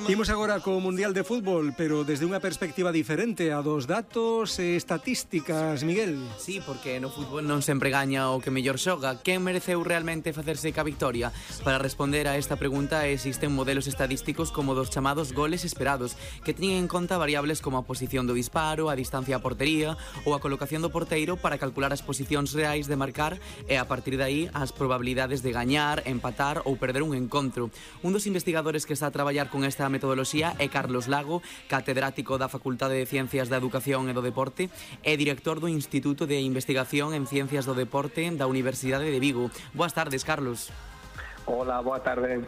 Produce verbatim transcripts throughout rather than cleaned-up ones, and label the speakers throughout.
Speaker 1: Imos agora co Mundial de Fútbol, pero desde unha perspectiva diferente a dos datos e estatísticas, Miguel.
Speaker 2: Sí, porque no fútbol non sempre gaña o que mellor xoga. Quen mereceu realmente facerse ca victoria? Para responder a esta pregunta existen modelos estadísticos como dos chamados goles esperados, que teñen en conta variables como a posición do disparo, a distancia á portería ou a colocación do porteiro para calcular as posicións reais de marcar e a partir de aí as probabilidades de gañar, empatar ou perder un encontro. Un dos investigadores que está a traballar con esta metodoloxía é Carlos Lago, catedrático da Facultade de Ciencias da Educación e do Deporte e director do Instituto de Investigación en Ciencias do Deporte da Universidade de Vigo. Boas tardes, Carlos.
Speaker 3: Hola, boa tarde.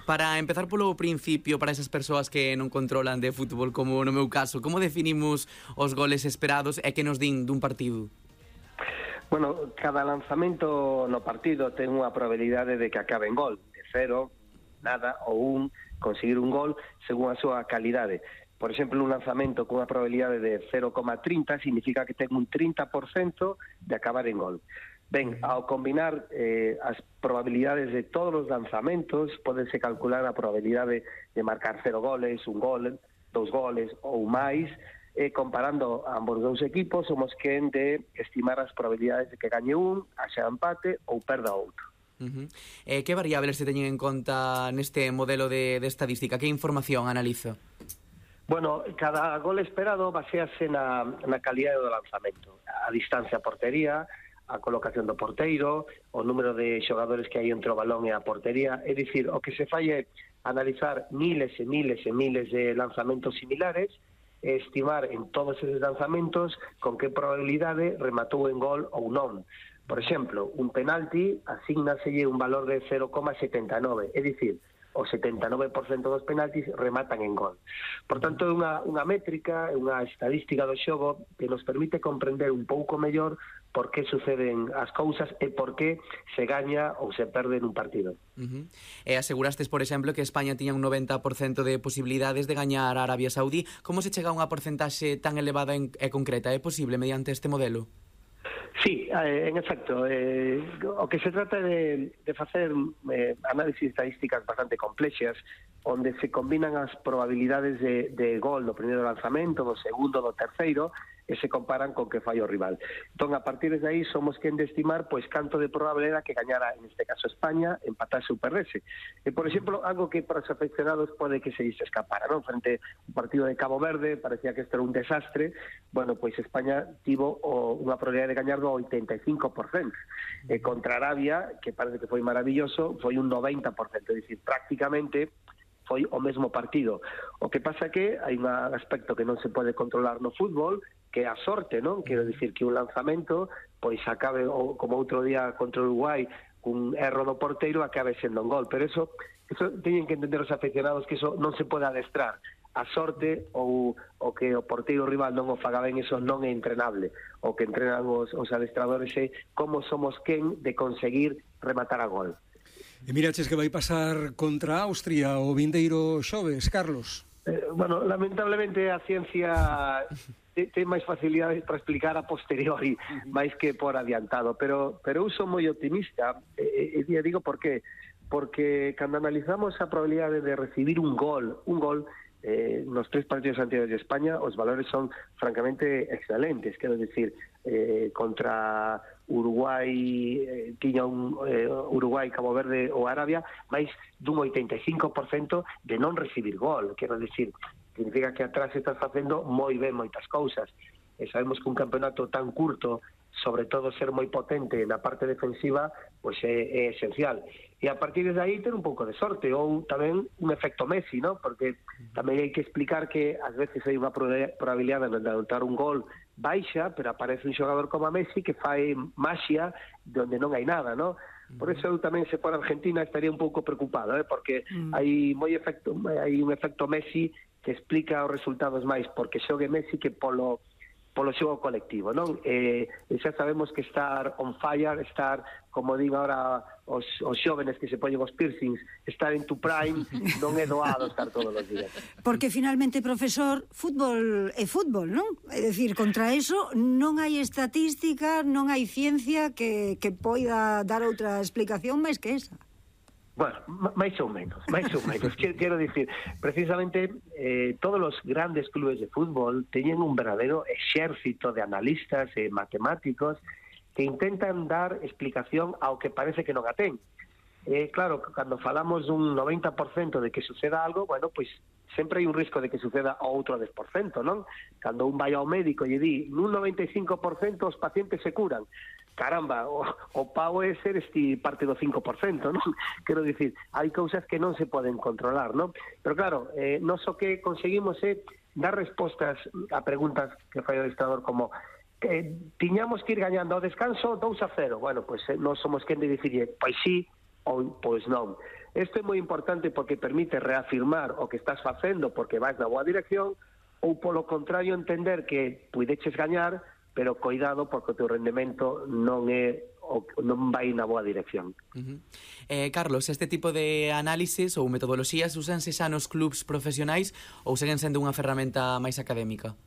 Speaker 2: Para empezar polo principio, para esas persoas que non controlan de fútbol, como no meu caso, como definimos os goles esperados e que nos din dun partido?
Speaker 3: Bueno, cada lanzamento no partido ten unha probabilidade de que acabe en gol, de cero, nada ou un, conseguir un gol según a súa calidade. Por exemplo, un lanzamento con unha probabilidade de cero coma trinta significa que ten un trinta por cento de acabar en gol. Ben, ao combinar eh, as probabilidades de todos os lanzamentos, podense calcular a probabilidade de marcar cero goles, un gol, dous goles ou máis, e comparando ambos dous equipos, somos quen de estimar as probabilidades de que gañe un, haxa empate ou perda outro.
Speaker 2: Uh-huh. Eh, que variables se teñen en conta neste modelo de, de estadística? Que información analiza?
Speaker 3: Bueno, cada gol esperado basease na, na calidade do lanzamento, a distancia a portería, a colocación do porteiro, o número de xogadores que hai entre o balón e a portería. É dicir, o que se fai é analizar miles e miles e miles de lanzamentos similares e estimar en todos esos lanzamentos con que probabilidade rematou en gol ou non. Por exemplo, un penalti asignaselle un valor de cero coma setenta e nove, é dicir, o setenta e nove por cento dos penaltis rematan en gol. Por tanto, é unha, unha métrica, é unha estadística do xogo que nos permite comprender un pouco mellor por que suceden as cousas e por que se gaña ou se perde nun partido.
Speaker 2: Uh-huh. E asegurastes, por exemplo, que España tiña un noventa por cento de posibilidades de gañar a Arabia Saudí. Como se chega a unha porcentaxe tan elevada e concreta? É posible mediante este modelo?
Speaker 3: Sí, eh, en efecto, eh, o que se trata de, de facer eh, análisis estadísticas bastante complexas, onde se combinan as probabilidades de, de gol do primeiro lanzamento, do segundo, do terceiro, e se comparan con que fai o rival. Entón, a partir de aí, somos quen de estimar pois canto de probable era que gañara, en este caso, España, empatase ou perdese. E, por exemplo, algo que para os aficionados pode que se se escapara, non? Frente ao partido de Cabo Verde, parecía que isto era un desastre, bueno, pois España tivo o, unha probabilidade de gañar do oitenta e cinco por cento. E contra Arabia, que parece que foi maravilloso, foi un noventa por cento, é dicir, prácticamente foi o mesmo partido. O que pasa que hai un aspecto que non se pode controlar no fútbol, que é a sorte, non? Quero dicir que un lanzamento, pois acabe, ou, como outro día contra Uruguai, cun erro do porteiro, acabe sendo un gol. Pero eso, eso teñen que entender os aficionados que eso non se pode adestrar. A sorte ou o que o porteiro rival non o faga ben, eso non é entrenable. O que entrenan os, os adestradores é como somos quen de conseguir rematar a gol.
Speaker 1: E miraches que vai pasar contra Austria o vindeiro xoves, Carlos?
Speaker 3: Eh, bueno, lamentablemente a ciencia ten máis facilidades para explicar a posteriori, máis que por adiantado, pero pero eu sou moi optimista, e, e digo por qué, porque cando analizamos a probabilidade de recibir un gol, un gol eh, nos tres partidos anteriores de España, os valores son francamente excelentes, quero dicir, eh, contra Uruguai, eh, tiña un eh, Uruguai, Cabo Verde ou Arabia, máis dun oitenta e cinco por cento de non recibir gol, quero dicir, significa que atrás estás facendo moi ben moitas cousas, e sabemos que un campeonato tan curto, sobre todo ser moi potente na parte defensiva, pois é, é esencial. E a partir de aí ter un pouco de sorte, ou tamén un efecto Messi, ¿no? Porque tamén hai que explicar que ás veces hai unha probabilidade de anotar un gol baixa, pero aparece un xogador como a Messi que fai maxia donde non hai nada, ¿no? Por eso eu tamén, se por Argentina, estaría un pouco preocupado, ¿eh? Porque mm. hai moi efecto, hai un efecto Messi que explica os resultados máis porque xogue Messi que polo polo xogo colectivo, non? E, e xa sabemos que estar on fire, estar, como digo agora os, os xóvenes que se poñen os piercings, estar en tu prime, non é doado estar todos os días.
Speaker 4: Porque finalmente, profesor, fútbol é fútbol, non? É dicir, contra eso non hai estatística, non hai ciencia que, que poida dar outra explicación máis que esa.
Speaker 3: Bueno, máis ou menos, máis ou menos. Quero, quero dicir, precisamente, eh, todos os grandes clubes de fútbol teñen un verdadero exército de analistas e matemáticos que intentan dar explicación ao que parece que non a ten. Eh, claro, cando falamos dun noventa por cento de que suceda algo, bueno, pois sempre hai un risco de que suceda outro dez por cento, non? Cando un vai ao médico e di, nun noventa e cinco por cento os pacientes se curan. Caramba, o, o pau é ser este parte do cinco por cento, non? Quero dicir, hai cousas que non se poden controlar, non? Pero claro, eh, nos o que conseguimos é dar respostas a preguntas que fai o adestrador como eh, tiñamos que ir gañando ao descanso dous a cero. Bueno, pois pues, eh, non somos quen de dicirlle, pois sí, ou pois non. Isto é moi importante porque permite reafirmar o que estás facendo porque vais na boa dirección ou, polo contrario, entender que puideches gañar, pero coidado porque o teu rendemento non é o, non vai na boa dirección.
Speaker 2: Uh-huh. eh, Carlos, este tipo de análisis ou metodoloxías usanse xa nos clubs profesionais ou seguen sendo unha ferramenta máis académica?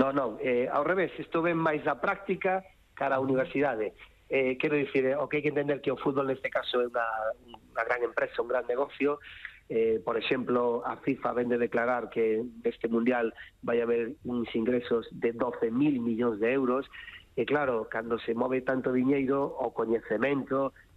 Speaker 3: Non, non, eh, ao revés, isto ven máis da práctica cara á universidade. Eh, quero dicir, eh, o que hai que entender que o fútbol neste caso é unha, unha gran empresa, un gran negocio. Eh, por exemplo, a FIFA vende declarar que neste mundial vai haber uns ingresos de doce mil millóns de euros e claro, cando se move tanto diñeiro, o coñecemento